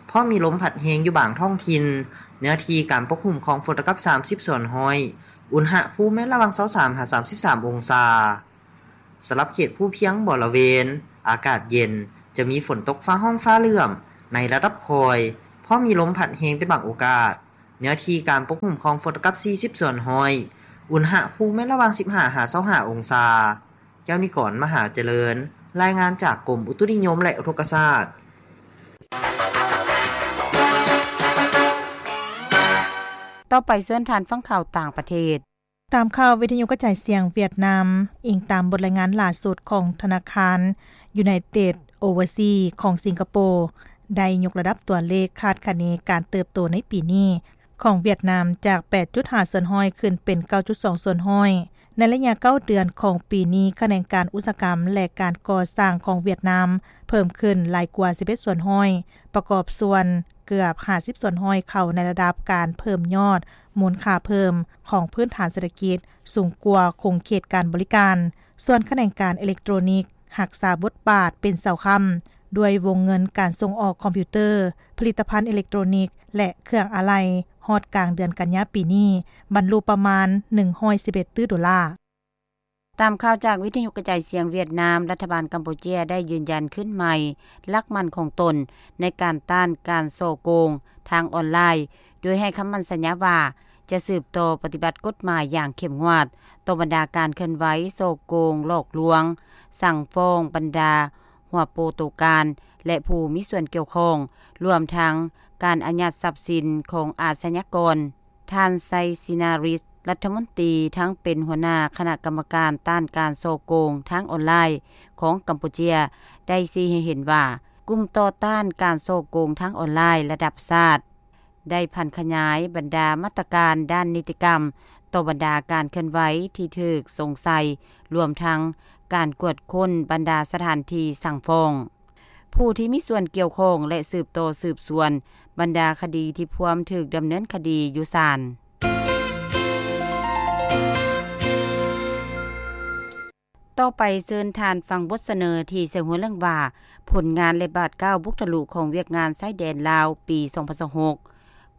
ພ້ອມມີລົມພັດແຮງຢູ່ບາງທ້ອງຖິ່ນ. ເນື້ອທີ່ການປົກຫຸ້ມຂອງຝົນເທົ່າກັບສາມສິບສ່ວນຮ້ອຍ, ອຸນຫະພູມແມ່ນລະຫວ່າງຊາວສາມຫາສາມສິບສາມອົງສາ. ສຳລັບເຂດພູພຽງບໍລະເວນ, ອາກາດເຢັນ, ຈະມີຝົນຕົກຟ້າຮ້ອງຟ້າເຫຼື້ອມໃນລະດັບຄ່ອຍ, ພ້ອມມີລົມພັດແຮງເປັນບາງໂອກາດ. ເນື້ອທີ່ການປົກຫຸ້ມຂອງຝົນເທົ່າກັບສີ່ສິບສ່ວນຮ້ອຍ, ອຸນຫະພູມແມ່ນລະຫວ່າງສິບຫ້າຫາຊາວຫ້າອົງສາ. ແກ້ວນິກອນ ມະຫາຈະເລີນ, ລາຍງານຈາກກົມອຸຕຸນິຍົມ ແລະ ອຸທົກກະສາດ. ຕໍ່ໄປເຊີນທ່ານຟັງຂ່າວຕ່າງປະເທດ. ຕາມຂ່າວວິທະຍຸກະຈາຍສຽງຫວຽດນາມ, ອີງຕາມບົດລາຍງານຫຼ້າສຸດຂອງທະນາຄານ United Overseas ຂອງສິງກະໂປ, ໄດ້ຍົກລະດັບຕົວເລກຄາດຄະເນການເຕີບໂຕໃນປີນີ້ຂອງຫວຽດນາມ ຈາກແປດຈຸດຫ້າສ່ວນຮ້ອຍ ຂຶ້ນເປັນເກົ້າຈຸດສອງສ່ວນຮ້ອຍ. ໃນໄລຍະເກົ້າເດືອນຂອງປີນີ້, ຂະແໜງການອຸດສາຫະກຳ ແລະ ການກໍ່ສ້າງຂອງຫວຽດນາມເພີ່ມຂຶ້ນຫຼາຍກວ່າສິບເອັດສ່ວນຮ້ອຍ, ປະກອບສ່ວນເກືອບຫ້າສິບສ່ວນຮ້ອຍເຂົ້າໃນລະດັບການເພີ່ມຍອດມູນຄ່າເພີ່ມຂອງພື້ນຖານເສດຖະກິດ ສູງກວ່າຂົງເຂດການບໍລິການ. ສ່ວນຂະແໜງການເອເລັກໂຕຣນິກຮັກສາບົດບາດເປັນເສົາຄ້ຳ ດ້ວຍວົງເງິນການສົ່ງອອກຄອມພິວເຕີ, ຜະລິດຕະພັນເອເລັກໂຕຣນິກ ແລະ ເຄື່ອງອາໄຫຼ່ ຮອດກາງເດືອນກັນຍາປີນີ້ ບັນລຸປະມານໜຶ່ງຮ້ອຍສິບເອັດຕື້ໂດລາ. ຕາມຂ່າວຈາກວິທະຍຸກະຈາຍສຽງຫວຽດນາມ, ລັດຖະບານກຳປູເຈຍໄດ້ຢືນຢັນຄືນໃໝ່ຫຼັກໝັ້ນຂອງຕົນໃນການຕ້ານການສໍ້ໂກງທາງອອນລາຍ, ໂດຍໃຫ້ຄຳໝັ້ນສັນຍາວ່າ ຈະສືບຕໍ່ປະຕິບັດກົດໝາຍຢ່າງເຂັ້ມງວດຕໍ່ບັນດາການເຄື່ອນໄຫວສໍ້ໂກງ, ຫຼອກລວງ, ສັ່ງຟ້ອງບັນດາຫົວໂປໂຕການ ແລະ ຜູ້ມີສ່ວນກ່ຽວຂ້ອງ, ລວມທັງການອາຍັດຊັບສິນຂອງອາຊະຍາກອນ. ທ່ານ ໄຊຊິນາຣິດ ລັດຖະມົນຕີ ທັງເປັນຫົວໜ້າຄະນະກຳມະການຕ້ານການສໍ້ໂກງທາງອອນລາຍຂອງກຳປູເຈຍ ໄດ້ຊີ້ໃຫ້ເຫັນວ່າ ກຸ່ມຕໍ່ຕ້ານການສໍ້ໂກງທາງອອນລາຍລະດັບຊາດ ໄດ້ຜັນຂະຫຍາຍບັນດາມາດຕະການດ້ານນິຕິກຳຕໍ່ບັນດາການເຄື່ອນໄຫວທີ່ຖືກສົງໄສ, ລວມທັງການກວດຄົ້ນບັນດາສະຖານທີ່ສັ່ງຟ້ອງ ຜູ້ທີ່ມີສ່ວນກ່ຽວຂ້ອງ ແລະ ສືບຕໍ່ສືບສວນບັນດາຄະດີທີ່ພວມຖືກດຳເນີນຄະດີຢູ່ສານ. ຕໍ່ໄປເຊີນທ່ານຟັງບົດສະເໜີທີ່ໃສ່ຫົວເລື່ອງວ່າ ຜົນງານ ແລະ ບາດກ້າວບຸກທະລຸຂອງວຽກງານຊາຍແດນລາວປີສອງພັນຊາວຫົກ,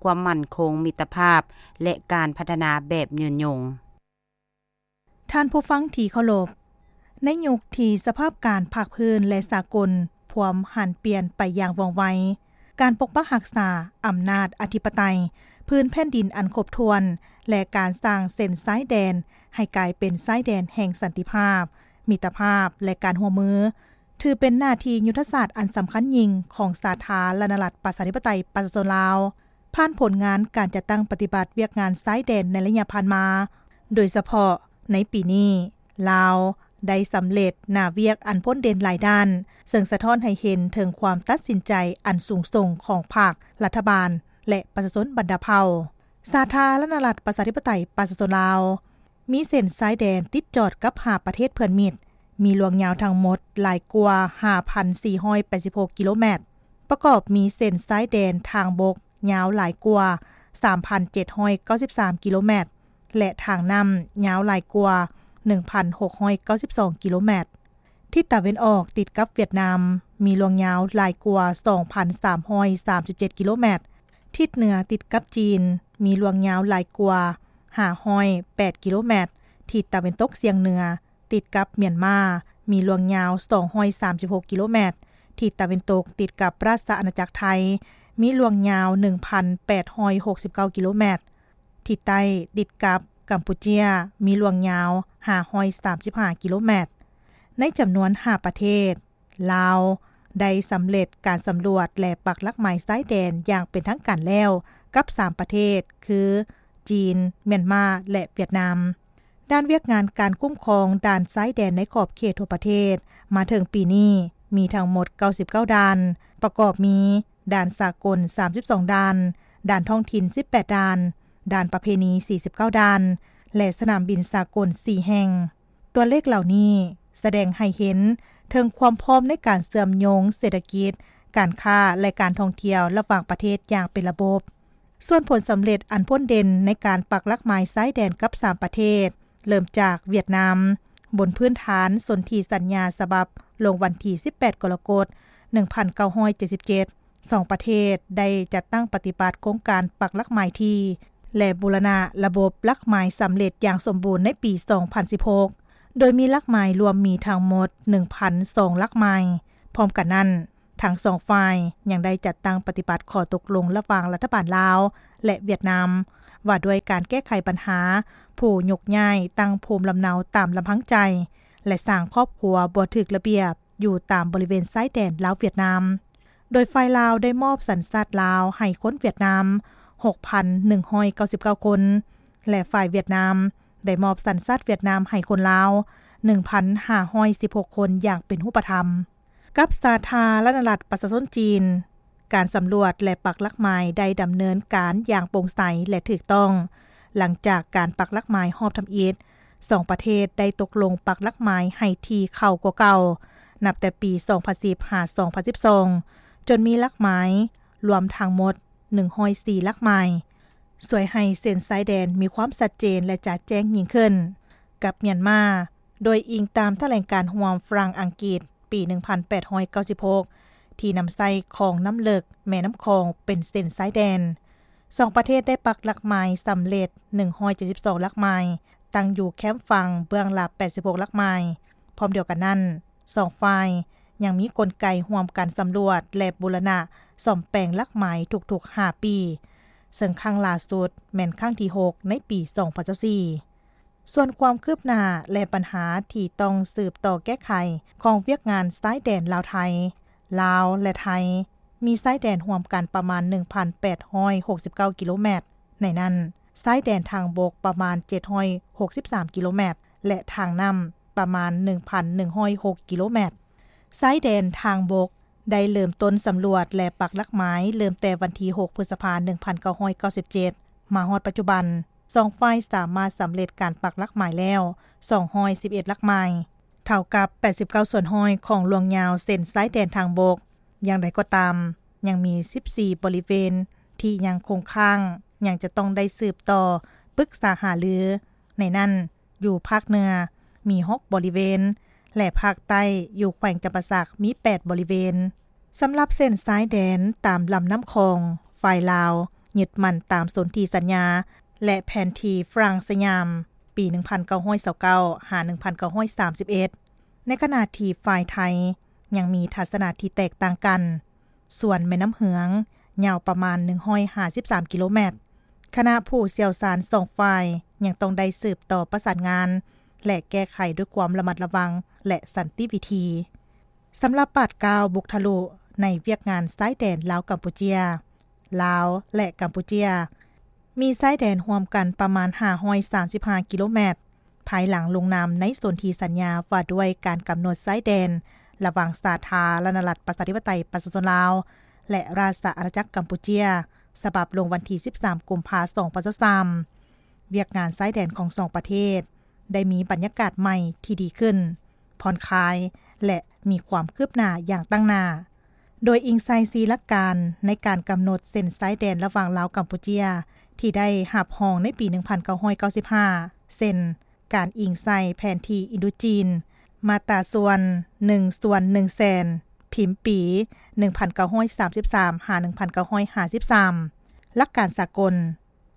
ຄວາມໝັ້ນຄົງ, ມິດຕະພາບ ແລະ ການພັດທະນາແບບຍືນຍົງ. ທ່ານຜູ້ຟັງທີ່ເຄົາລົບ, ໃນຍຸກທີ່ສະພາບການພາກພື້ນ ແລະ ສາກົນພວມຫັນປ່ຽນໄປຢ່າງວ່ອງໄວ, ການປົກປັກຮັກສາອຳນາດອະທິປະໄຕພື້ນແຜ່ນດິນອັນຄົບຖ້ວນ ແລະ ການສ້າງເສັ້ນຊາຍແດນໃຫ້ກາຍເປັນຊາຍແດນແຫ່ງສັນຕິພາບ, ມິດຕະພາບ ແລະ ການຮ່ວມມື ຖືເປັນໜ້າທີ່ຍຸດທະສາດອັນສຳຄັນຍິ່ງຂອງສາທາລະນະລັດ ປະຊາທິປະໄຕ ປະຊາຊົນລາວ. ຜ່ານຜົນງານການຈັດຕັ້ງປະຕິບັດວຽກງານຊາຍແດນໃນໄລຍະຜ່ານມາ, ໂດຍສະເພາະໃນປີນີ້, ລາວໄດ້ສຳເລັດໜ້າວຽກອັນພົ້ນເດັ່ນຫຼາຍດ້ານ, ເຊິ່ງສະທ້ອນໃຫ້ເຫັນເຖິງຄວາມຕັດສິນໃຈອັນສູງສົ່ງຂອງພັກ, ລັດຖະບານ ແລະ ປະຊາຊົນບັນດາເຜົ່າ. ສາທາລະນະລັດ ປະຊາທິປະໄຕ ປະຊາຊົນລາວ ມີເສັ້ນຊາຍແດນຕິດຈອດກັບຫ້າປະເທດເພື່ອນມິດ, ມີລວງຍາວທັງໝົດຫຼາຍກວ່າຫ້າພັນສີ່ຮ້ອຍແປດສິບຫົກກິໂລແມັດ, ປະກອບມີເສັ້ນຊາຍແດນທາງບົກຍາວຫຼາຍກວ່າສາມພັນເຈັດຮ້ອຍເກົ້າສິບສາມກິໂລແມັດ ແລະ ທາງນ້ຳຍາວຫຼາຍກວ່າ ໜຶ່ງພັນຫົກຮ້ອຍເກົ້າສິບສອງກິໂລແມັດ. ທິດຕາເວັນອອກຕິດກັບຫວຽດນາມ ມີລວງຍາວຫຼາຍກວ່າ ສອງພັນສາມຮ້ອຍສາມສິບເຈັດກິໂລແມັດ. ທິດເໜືອຕິດກັບຈີນ ມີລວງຍາວຫຼາຍກວ່າ ຫ້າຮ້ອຍແປດກິໂລແມັດ. ທິດຕາເວັນຕົກສ່ຽງເໜືອ ຕິດກັບມຽນມາ ມີລວງຍາວ ສອງຮ້ອຍສາມສິບຫົກກິໂລແມັດ. ທິດຕາເວັນຕົກຕິດກັບລາຊະອານາຈັກໄທ ມີລວງຍາວ ໜຶ່ງພັນແປດຮ້ອຍຫົກສິບເກົ້າກິໂລແມັດ. ທິດໃຕ້ຕິດກັບກຳປູເຈຍ ມີລວງຍາວ ຫ້າຮ້ອຍສາມສິບຫ້າກິໂລແມັດ. ໃນຈຳນວນຫ້າປະເທດ, ລາວໄດ້ສຳເລັດການສຳຫຼວດ ແລະ ປັກຫຼັກໝາຍຊາຍແດນຢ່າງເປັນທາງການແລ້ວກັບສາມປະເທດ ຄື ຈີນ, ມຽນມາ ແລະ ຫວຽດນາມ. ດ້ານວຽກງານການຄຸ້ມຄອງດ່ານຊາຍແດນໃນຂອບເຂດທົ່ວປະເທດ ມາເຖິງປີນີ້ມີທັງໝົດເກົ້າສິບເກົ້າດ່ານ, ປະກອບມີ ດ່ານສາກົນສາມສິບສອງດ່ານ, ດ່ານທ້ອງຖິ່ນສິບແປດດ່ານ, ດ່ານປະເພນີສີ່ສິບເກົ້າດ່ານ ແລະ ສະໜາມບິນສາກົນສີ່ແຫ່ງ. ຕົວເລກເຫຼົ່ານີ້ສະແດງໃຫ້ເຫັນເຖິງຄວາມພ້ອມໃນການເຊື່ອມໂຍງເສດຖະກິດ, ການຄ້າ ແລະ ການທ່ອງທ່ຽວລະຫວ່າງປະເທດຢ່າງເປັນລະບົບ. ສ່ວນຜົນສຳເລັດອັນພົ້ນເດັ່ນໃນການປັກຫຼັກໝາຍຊາຍແດນກັບສາມປະເທດ ເລີ່ມຈາກຫວຽດນາມ, ບົນພື້ນຖານສົນທິສັນຍາສະບັບລົງວັນທີສິບແປດກໍລະກົດ ໜຶ່ງພັນເກົ້າຮ້ອຍເຈັດສິບເຈັດ ສອງປະເທດໄດ້ຈັດຕັ້ງປະຕິບັດໂຄງການປັກຫຼັກໝາຍທີ່ ແລະ ບູລະນະລະບົບຫຼັກໝາຍສຳເລັດຢ່າງສົມບູນໃນປີສອງພັນສິບຫົກ ໂດຍມີຫຼັກໝາຍລວມມີທັງໝົດ ໜຶ່ງພັນສອງຫຼັກໝາຍ. ພ້ອມກັນນັ້ນ, ທັງສອງຝ່າຍຍັງໄດ້ຈັດຕັ້ງປະຕິບັດຂໍ້ຕົກລົງລະຫວ່າງລັດຖະບານລາວ ແລະ ຫວຽດນາມ ວ່າດ້ວຍການແກ້ໄຂບັນຫາຜູ້ຍົກຍ້າຍຕັ້ງພູມລຳເນົາຕາມລຳພັງໃຈ ແລະ ສ້າງຄອບຄົວບໍ່ຖືກລະບຽບຢູ່ຕາມບໍລິເວນຊາຍແດນລາວຫວຽດນາມ, ໂດຍຝ່າຍລາວໄດ້ມອບສັນຊາດລາວໃຫ້ຄົນຫວຽດນາມ ຫົກພັນໜຶ່ງຮ້ອຍເກົ້າສິບເກົ້າຄົນ ແລະ ຝ່າຍຫວຽດນາມໄດ້ມອບສັນຊາດຫວຽດນາມໃຫ້ຄົນລາວ ໜຶ່ງພັນຫ້າຮ້ອຍສິບຫົກຄົນຢ່າງເປັນຮູບປະທຳ. ກັບສາທາລະນະລັດປະຊາຊົນຈີນ, ການສຳຫຼວດ ແລະ ປັກຫຼັກໝາຍໄດ້ດຳເນີນການຢ່າງໂປ່ງໃສ ແລະ ຖືກຕ້ອງ. ຫຼັງຈາກການປັກຫຼັກໝາຍຮອບທຳອິດ, ສອງປະເທດໄດ້ຕົກລົງປັກຫຼັກໝາຍໃຫ້ຖີ່ເຂົ້າກວ່າເກົ່າ, ນັບແຕ່ປີສອງພັນສິບຫາສອງພັນສິບສອງ ຈົນມີຫຼັກໝາຍລວມທັງໝົດ ໜຶ່ງຮ້ອຍສີ່ຫຼັກໝາຍ, ຊ່ວຍໃຫ້ເສັ້ນຊາຍແດນມີຄວາມຊັດເຈນ ແລະ ຈະແຈ້ງຍິ່ງຂຶ້ນ. ກັບມຽນມາ, ໂດຍອີງຕາມຖະແຫຼງການຮ່ວມຝຣັ່ງ-ອັງກິດ ປີໜຶ່ງພັນແປດຮ້ອຍເກົ້າສິບຫົກ ທີ່ນຳໃຊ້ຄອງນ້ຳເລິກແມ່ນ້ຳຂອງເປັນເສັ້ນຊາຍແດນ. ສອງປະເທດໄດ້ປັກຫຼັກໝາຍສຳເລັດໜຶ່ງຮ້ອຍເຈັດສິບສອງຫຼັກໝາຍ, ຕັ້ງຢູ່ແຄມຝັ່ງເບື້ອງລະແປດສິບຫົກຫຼັກໝາຍ. ພ້ອມດຽວກັນນັ້ນ, ສອງຝ່າຍຍັງມີກົນໄກຮ່ວມກັນສຳຫຼວດ ແລະ ບູລະນະສ້ອມແປງຫຼັກໝາຍທຸກໆຫ້າປີ, ເຊິ່ງຄັ້ງລ່າສຸດແມ່ນຄັ້ງທີຫົກໃນປີສອງພັນຊາວສີ່. ສ່ວນຄວາມຄືບໜ້າ ແລະ ບັນຫາທີ່ຕ້ອງສືບຕໍ່ແກ້ໄຂຂອງວຽກງານຊາຍແດນລາວ-ໄທ, ລາວ ແລະ ໄທ ມີຊາຍແດນຮ່ວມກັນປະມານໜຶ່ງພັນແປດຮ້ອຍຫົກສິບເກົ້າກິໂລແມັດ, ໃນນັ້ນ ຊາຍແດນທາງບົກປະມານເຈັດຮ້ອຍຫົກສິບສາມກິໂລແມັດ ແລະ ທາງນ້ຳປະມານໜຶ່ງພັນໜຶ່ງຮ້ອຍຫົກກິໂລແມັດ. ຊາຍແດນທາງບົກໄດ້ເລີ່ມຕົ້ນສຳຫຼວດ ແລະ ປັກຫຼັກໝາຍເລີ່ມແຕ່ວັນທີຫົກ ພຶດສະພາ ໜຶ່ງພັນເກົ້າຮ້ອຍເກົ້າສິບເຈັດ ມາຮອດປັດຈຸບັນ, ສອງຝ່າຍສາມາດສຳເລັດການປັກຫຼັກໝາຍແລ້ວສອງຮ້ອຍສິບເອັດຫຼັກໝາຍ, ເທົ່າກັບແປດສິບເກົ້າສ່ວນຮ້ອຍຂອງລວງຍາວເສັ້ນຊາຍແດນທາງບົກ. ຢ່າງໃດກໍຕາມ, ຍັງມີສິບສີ່ບໍລິເວນທີ່ຍັງຄົງຄ້າງ, ຍັງຈະຕ້ອງໄດ້ສືບຕໍ່ປຶກສາຫາລື. ໃນນັ້ນ, ຢູ່ພາກເໜືອມີຫົກບໍລິເວນ ແລະ ພາກໃຕ້ຢູ່ແຂວງຈຳປາສັກມີແປດບໍລິເວນ. ສຳລັບເສັ້ນຊາຍແດນຕາມລຳນ້ຳຂອງ, ຝ່າຍລາວຍຶດໝັ້ນຕາມສົນທິສັນຍາ ແລະ ແຜນທີ່ຝຣັ່ງສະຫຍາມ ປີໜຶ່ງພັນເກົ້າຮ້ອຍຊາວເກົ້າ ຫາ ໜຶ່ງພັນເກົ້າຮ້ອຍສາມສິບເອັດ, ໃນຂະນະທີ່ຝ່າຍໄທຍັງມີທັດສະນະທີ່ແຕກຕ່າງກັນ. ສ່ວນແມ່ນ້ຳເຫືອງຍາວປະມານໜຶ່ງຮ້ອຍຫ້າສິບສາມກິໂລແມັດ. ຄະນະຜູ້ຊ່ຽວຊານສອງຝ່າຍຍັງຕ້ອງໄດ້ສືບຕໍ່ປະສານງານ ແລະ ແກ້ໄຂດ້ວຍຄວາມລະມັດລະວັງ ແລະ ສັນຕິວິທີ. ສຳລັບບາດກ້າວບຸກທະລຸໃນວຽກງານຊາຍແດນລາວ-ກຳປູເຈຍ, ລາວ ແລະ ກຳປູເຈຍ ມີຊາຍແດນຮ່ວມກັນປະມານຫ້າຮ້ອຍສາມສິບຫ້າກິໂລແມັດ. ພາຍຫຼັງລົງນາມໃນສົນທິສັນຍາວ່າດ້ວຍການກຳນົດຊາຍແດນລະຫວ່າງສາທາລະນະລັດປະຊາທິປະໄຕປະຊາຊົນລາວ ແລະ ລາຊະອານາຈັກກຳປູເຈຍ ສະບັບລົງວັນທີສິບສາມ ກຸມພາ ສອງພັນຊາວສາມ, ວຽກງານຊາຍແດນຂອງສອງປະເທດໄດ້ມີບັນຍາກາດໃໝ່ທີ່ດີຂຶ້ນ, ຜ່ອນຄາຍ ແລະ ມີຄວາມຄືບໜ້າຢ່າງຕັ້ງໜ້າ. ໂດຍອີງໃສ່ສີ່ຫຼັກການໃນການກຳນົດເສັ້ນຊາຍແດນລະຫວ່າງລາວ-ກຳປູເຈຍ ທີ່ໄດ້ຮັບຮອງໃນປີໜຶ່ງພັນເກົ້າຮ້ອຍເກົ້າສິບຫ້າ ເຊັ່ນ: ການອີງໃສ່ແຜນທີ່ອິນໂດຈີນ ມາດຕາສ່ວນ ໜຶ່ງສ່ວນໜຶ່ງແສນ ພິມປີ ໜຶ່ງພັນເກົ້າຮ້ອຍສາມສິບສາມ ຫາ ໜຶ່ງພັນເກົ້າຮ້ອຍຫ້າສິບສາມ ຫຼັກການສາກົນ,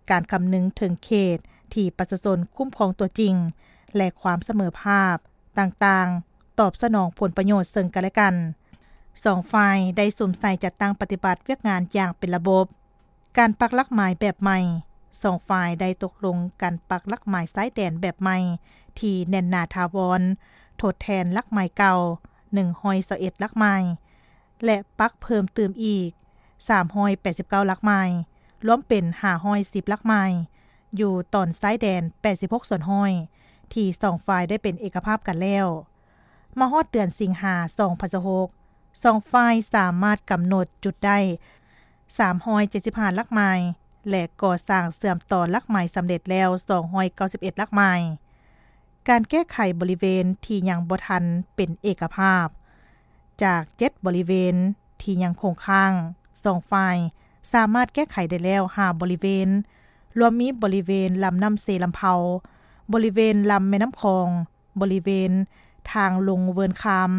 ການຄຳນຶງເຖິງເຂດທີ່ປະຊາຊົນຄຸ້ມຄອງຕົວຈິງ ແລະ ຄວາມສະເໝີພາບຕ່າງໆ ຕອບສະໜອງຜົນປະໂຫຍດເຊິ່ງກັນ ແລະ ກັນ. ສອງຝ່າຍໄດ້ສຸມໃສ່ຈັດຕັ້ງປະຕິບັດວຽກງານຢ່າງເປັນລະບົບ. ການປັກຫຼັກໝາຍແບບໃໝ່. ສອງຝ່າຍໄດ້ຕົກລົງກັນປັກຫຼັກໝາຍຊາຍແດນແບບໃໝ່ທີ່ແໜ້ນໜາຖາວອນ, ທົດແທນຫຼັກໝາຍເກົ່າ ໜຶ່ງຮ້ອຍຊາວເອັດຫຼັກໝາຍ ແລະ ປັກເພີ່ມຕື່ມອີກ ສາມຮ້ອຍແປດສິບເກົ້າຫຼັກໝາຍ, ລວມເປັນ ຫ້າຮ້ອຍສິບຫຼັກໝາຍ ຢູ່ຕອນຊາຍແດນ ແປດສິບຫົກສ່ວນຮ້ອຍ ທີ່ສອງຝ່າຍໄດ້ເປັນເອກະພາບກັນແລ້ວ. ມາຮອດເດືອນສິງຫາ ສອງພັນຊາວຫົກ ສອງຝ່າຍສາມາດກຳນົດຈຸດໄດ້ ສາມຮ້ອຍເຈັດສິບຫ້າຫຼັກໝາຍ ແລະ ກໍ່ສ້າງເຊື່ອມຕໍ່ຫຼັກໝາຍສຳເລັດແລ້ວ ສອງຮ້ອຍເກົ້າສິບເອັດຫຼັກໝາຍ. ການແກ້ໄຂບໍລິເວນທີ່ຍັງບໍ່ທັນເປັນເອກະພາບ. ຈາກເຈັດບໍລິເວນທີ່ຍັງຄົງຄ້າງ, ສອງຝ່າຍສາມາດແກ້ໄຂໄດ້ແລ້ວ ຫ້າບໍລິເວນ, ລວມມີບໍລິເວນລຳນ້ຳເຊລຳເພົາ, ບໍລິເວນລຳແມ່ນ້ຳຂອງ, ບໍລິເວນທາງລົງເວີນຄາມ,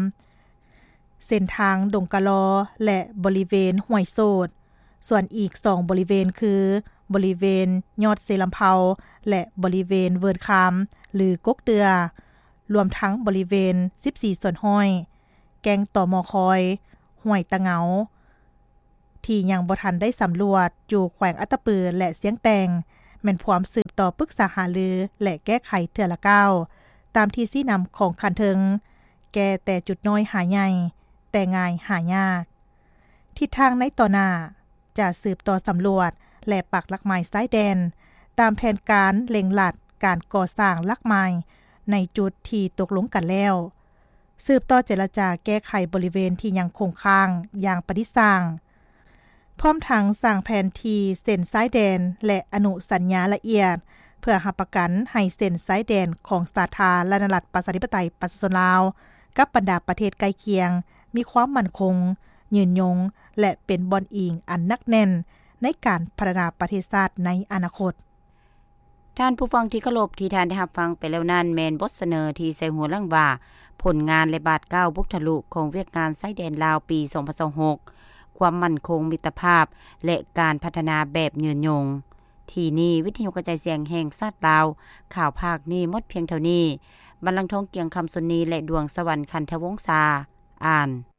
ເສັ້ນທາງດົງກະລໍ ແລະ ບໍລິເວນຫ້ວຍໂສດ. ສ່ວນອີກສອງບໍລິເວນຄື ບໍລິເວນຍອດເຊລຳເພົາ ແລະ ບໍລິເວນເວີນຄາມ ຫຼື ກົກເດື່ອ, ລວມທັງບໍລິເວນ ສິບສີ່ສ່ວນຮ້ອຍ ແກ້ງຕໍມໍຄອຍ, ຫ້ວຍຕະເງົາ ທີ່ຍັງບໍ່ທັນໄດ້ສຳຫຼວດ ຢູ່ແຂວງອັດຕະປື ແລະ ຊຽງແຕງ ແມ່ນພວມສືບຕໍ່ປຶກສາຫາລື ແລະ ແກ້ໄຂເທື່ອລະກ້າວ ຕາມທີ່ຊີ້ນຳຂອງຂັ້ນເທິງ, ແກ້ແຕ່ຈຸດນ້ອຍຫາໃຫຍ່ ແຕ່ງ່າຍຫາຍາກ. ທິດທາງໃນຕໍ່ໜ້າ ຈະສືບຕໍ່ສຳຫຼວດ ແລະ ປັກຫຼັກໝາຍຊາຍແດນ ຕາມແຜນການເລັ່ງລັດການກໍ່ສ້າງຫຼັກໝາຍໃນຈຸດທີ່ຕົກລົງກັນແລ້ວ. ສືບຕໍ່ເຈລະຈາແກ້ໄຂບໍລິເວນທີ່ຍັງຄົງຄ້າງຢ່າງປະດິດສ້າງ, ພ້ອມທັງສ້າງແຜນທີ່ເສັ້ນຊາຍແດນ ແລະ ອະນຸສັນຍາລະອຽດ ເພື່ອຮັບປະກັນໃຫ້ເສັ້ນຊາຍແດນຂອງສາທາລະນະລັດ ປະຊາທິປະໄຕ ປະຊາຊົນລາວ ກັບບັນດາປະເທດໃກ້ຄຽງ ມີຄວາມໝັ້ນຄົງ, ຍືນຍົງ ແລະ ເປັນບ່ອນອີງອັນໜັກແໜ້ນໃນການພັດທະນາປະເທດຊາດໃນອະນາຄົດ. ທ່ານຜູ້ຟັງທີ່ເຄົາລົບ, ທີ່ທ່ານໄດ້ຮັບຟັງໄປແລ້ວນັ້ນ ແມ່ນບົດສະເໜີທີ່ໃສ່ຫົວເລື່ອງວ່າ ຜົນງານ ແລະ ບາດກ້າວບຸກທະລຸຂອງວຽກງານຊາຍແດນລາວປີສອງພັນຊາວຫົກ ຄວາມໝັ້ນຄົງ, ມິດຕະພາບ ແລະ ການພັດທະນາແບບຍືນຍົງ. ທີ່ນີ້ ວິທະຍຸກະຈາຍສຽງແຫ່ງຊາດລາວ ຂ່າວພາກນີ້ໝົດພຽງເທົ່ານີ້. ບັນລັງທອງ ກຽງຄຳ ຊຸນນີ ແລະ ດວງສະຫວັນ ຂັນທະວົງສາ ອ່ານ.